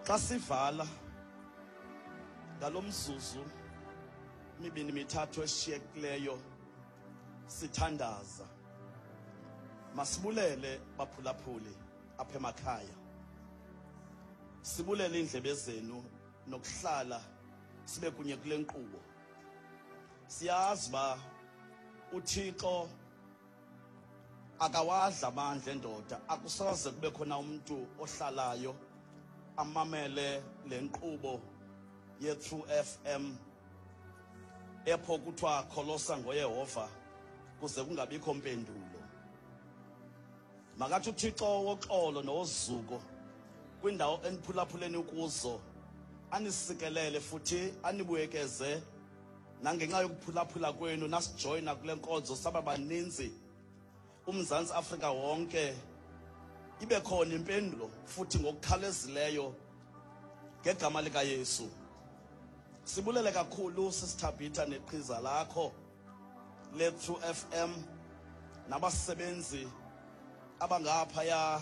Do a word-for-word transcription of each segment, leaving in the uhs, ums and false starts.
Xa sivala ngalo mzuzu mibini mithathu eshiyekileyo sithandaza, masibulele baphulaphuli apha emakhaya, sibulele iindlebe zenu nokuhlala sibe kunye kule nkqubo. Siyazi uba uThixo akawadla amandla endoda, akusoze kube khona umntu ohlalayo amamele le nkqubo ye-True F M epho kuthiwa kholosa ngoYehova kuze kungabikho mpendulo. Makathi uThixo woxolo nowozuko kwindawo eniphulaphuleni kuzo anisikelele futhi anibuyekeze nangenxa yokuphulaphula kwenu nasijoyina kule nkonzo saba baninzi uMzantsi Afrika wonke, ibe khona impendulo futhi ngokukhawulezileyo ngegama likaYesu. Sibulele kakhulu sisithabhitha neqhiza lakho le-True F M nabasebenzi abangaphaya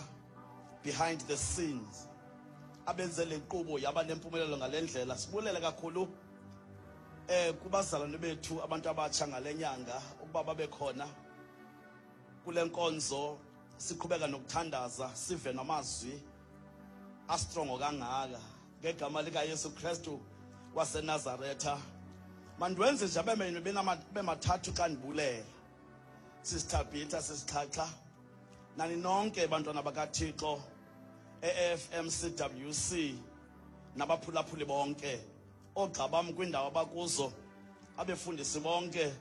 behind the scenes abenze le nkqubo yaba nempumelelo ngale ndlela. Sibulele kakhulu eh kubazalwane bethu abantu abatsha ngale nyanga ukuba babe khona kule nkonzo, siqhubeka nokuthandaza, sive namazwi astrongo kangaka ngegama likaYesu Kristu waseNazaretha. Mandiwenze nje abe bemathathu xa ndibulela sisithabhitha, sisixhaxha, nani nonke bantwana bakaThixo e-F M C W C nabaphulaphuli bonke, oogxa bam kwindawo abakuzo, abefundisi bonke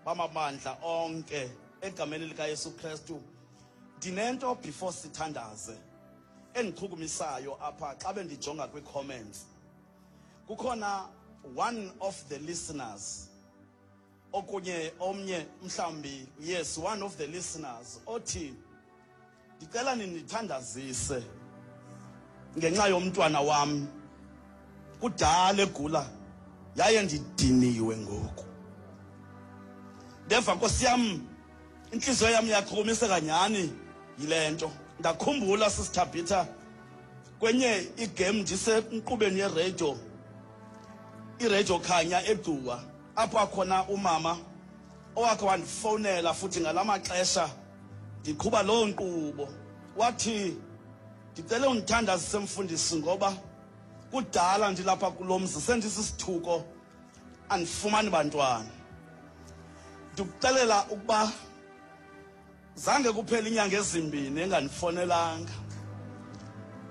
bamabandla onke, egameni likaYesu Kristu. Ndinento before sithandaze endichukumisayo apha xa bendijonga kwii-comments. Kukhona one of the listeners okunye omnye mhlawumbi, yes, one of the listeners othi, "Ndicela nindithandazise ngenxa yomntwana wam, kudala egula yaye ndidiniwe ngoku." Ndeva, nkosi yam, intliziyo yam yachukumiseka nyhani yile nto. Ndakhumbula sisithabhitha kwenye igame ndisenkqubeni yeredio, iredio Khanya eGcuwa, apho akhona umama owakhe wandifowunela futhi ngala maxesha ndiqhuba loo nkqubo, wathi, "Ndicele undithandazise mfundisi, ngoba kudala ndilapha kulo mzi, sendisisithuko, andifumani bantwana." Ndikuxelela ukuba zange kuphela inyanga ezimbini engandifonelanga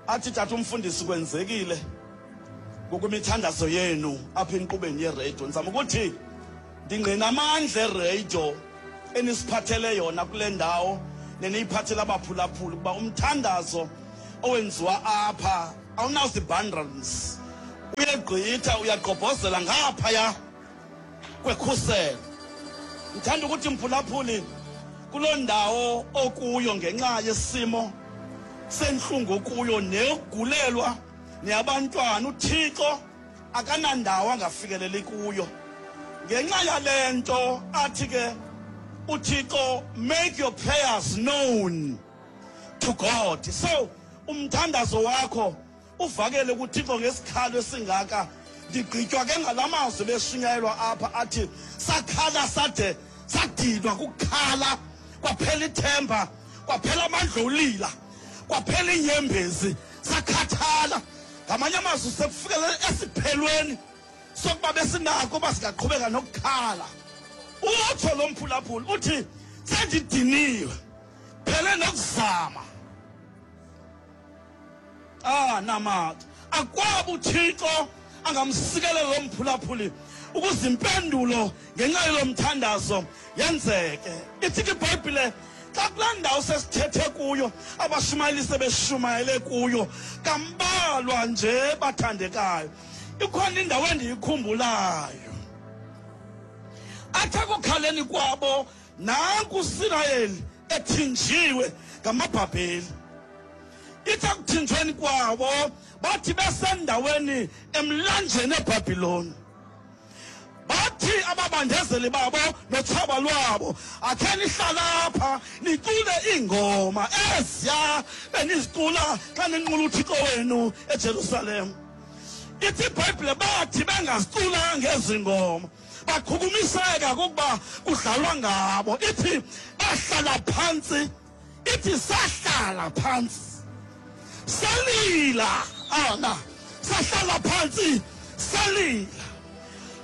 athi, "Tata umfundisi, kwenzekile ngokwemithandazo yenu apha enkqubeni yeredio." Ndizama ukuthi ndingqina amandla eredio enisiphathele yona kule ndawo neniyiphathele abaphulaphuli, ukuba umthandazo owenziwa apha awunazibundles, uyegqitha, uyagqobhozela ngaphaya kwekhuselo. Ndithanda ukuthi mphulaphuli, kuloo ndawo okuyo ngenxa yesimo sentlungu kuyo neyokugulelwa neyabantwana, uThixo akanandawo angafikeleli kuyo. Ngenxa yale nto athi ke uThixo, "Make your prayers known to God." So umthandazo wakho uvakele kuThixo ngesikhalo esingaka. Ndigqitywa ke ngala mazwi beshunyayelwa apha athi sakhala sade sadinwa kukhala, kwaphela ithemba, kwaphela amandla olila, kwaphela iinyembezi, sakhathala. Ngamanye amazwi, sekufikele esiphelweni sokuba besinako uba singaqhubeka nokukhala. Utsho lo mphulaphula uthi, "Sendidiniwe, phele nokuzama." Ah, namathi akwaba uThixo angamsikelela lo mphulaphuli ukuze impendulo ngenxa yalo mthandazo yenzeke. Ithi ke iBhayibhile, xa kulaa ndawo sesithethe kuyo, abashumayeli sebeshumayele kuyo kambalwa nje, bathandekayo, ikhona indawo endiyikhumbulayo athi ekukhaleni kwabo nanku uSirayeli ethinjiwe ngamaBhabheli. Ithi ekuthinjweni kwabo bathi besendaweni emlanjeni eBhabhiloni bathi Bathi ababandezeli babo notshaba lwabo, akhe nihlala apha nicule iingoma eziya benizicula xa ninqula uThixo wenu eJerusalem. Ithi iBhayibhile bathi bengaziculanga ezi ngoma, bachukumiseka kukuba kudlalwa ngabo. Ithi bahlala phantsi, ithi sahlala phantsi salila, ana sahlala phantsi salila.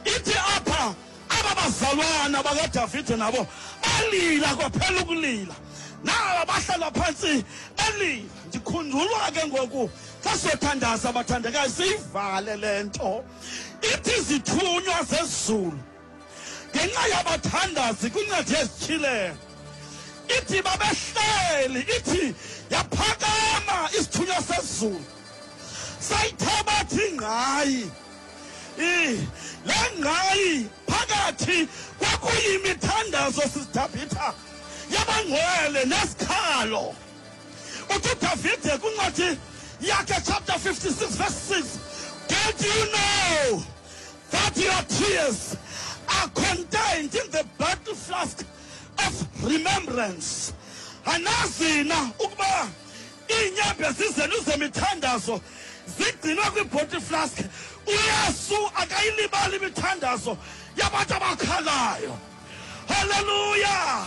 Ithi apha aba bazalwana bakaDavide nabo balila kwaphela ukulila, naba bahlala phantsi balila. Ndikhunjulwa ke ngoku xa sothandaza, bathandekayo, siyivale le nto. Ithi izithunywa zezulu ngenxa yabathandazi kwincwadi yezityhilelo, ithi babehleli, ithi yaphakama isithunywa sezulu sayithabatha ingqayi. Le ngqayi phakathi kwakuyimithandazo sisiDavitha yabangcwele nesikhalo. Uthi uDavide kwincwadi yakhe chapter fifty-six verse six, don't you know that your tears are contained in the battle flask of remembrance? Anazina ukuba iinyembezi zenu zemithandazo zigcinwe kwi-bottle flask. UYesu akayilibali imithandazo yabantu abakhalayo. Haleluya!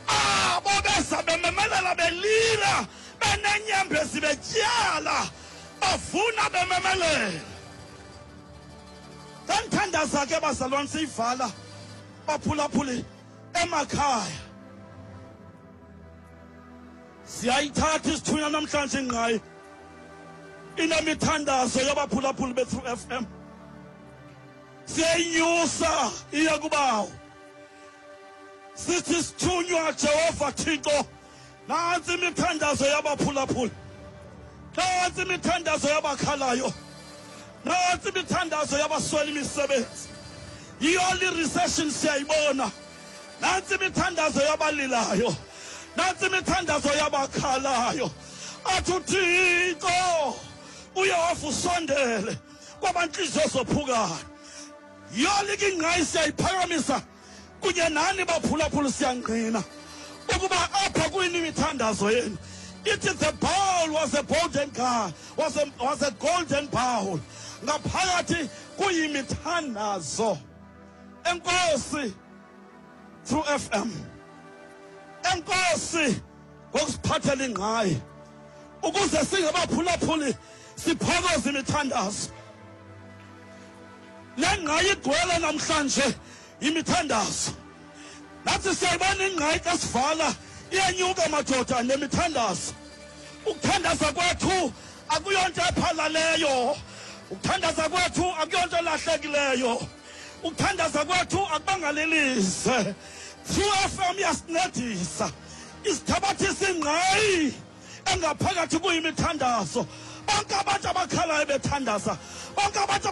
Abo beza bememelela belila, benenyembezi betyala, bavuna bememelela. Xa ndithandaza ke bazalwane, siyivala, baphulaphuli emakhaya, siyayithatha isithunywa namhlanje ingqayi inemithandazo yabaphulaphuli be-True F M. Siyayinyusa iya kubawo, sithi sithunywa Jehova Thixo, nantsi imithandazo yabaphulaphuli, nantsi imithandazo yabakhalayo, nantsi imithandazo yabaswela imisebenzi. Yiyo li-recession siyayibona. Nantsi imithandazo yabalilayo, nantsi imithandazo yabakhalayo. Athi uThixo uYehova usondele kwabantliziyo zophukayo. Yolike ingqayi siyayiphakamisa kunye nani baphulaphula, siyangqina ukuba apha kuyini imithandazo yenu. Ithi the bowl was a golden car, was a, was a golden bowl. Ngaphakathi kuyimithandazo. Enkosi True F M. Enkosi ngokusiphathela ingqayi ukuze singabaphulaphuli siphokoze imithandazo. Le ngqayi igcwele namhlanje imithandazo. Nathi siyayibona ingqayi xa sivala iyenyuka madoda nemithandazo. Ukuthandaza kwethu akuyonto ephalaleyo, ukuthandaza kwethu akuyonto elahlekileyo, ukuthandaza kwethu akubangalilize. True F M iyasincedisa, isithabathisa ingqayi engaphakathi kuyimithandazo. Bonke abantu abakhalayo bethandaza, bonke abantu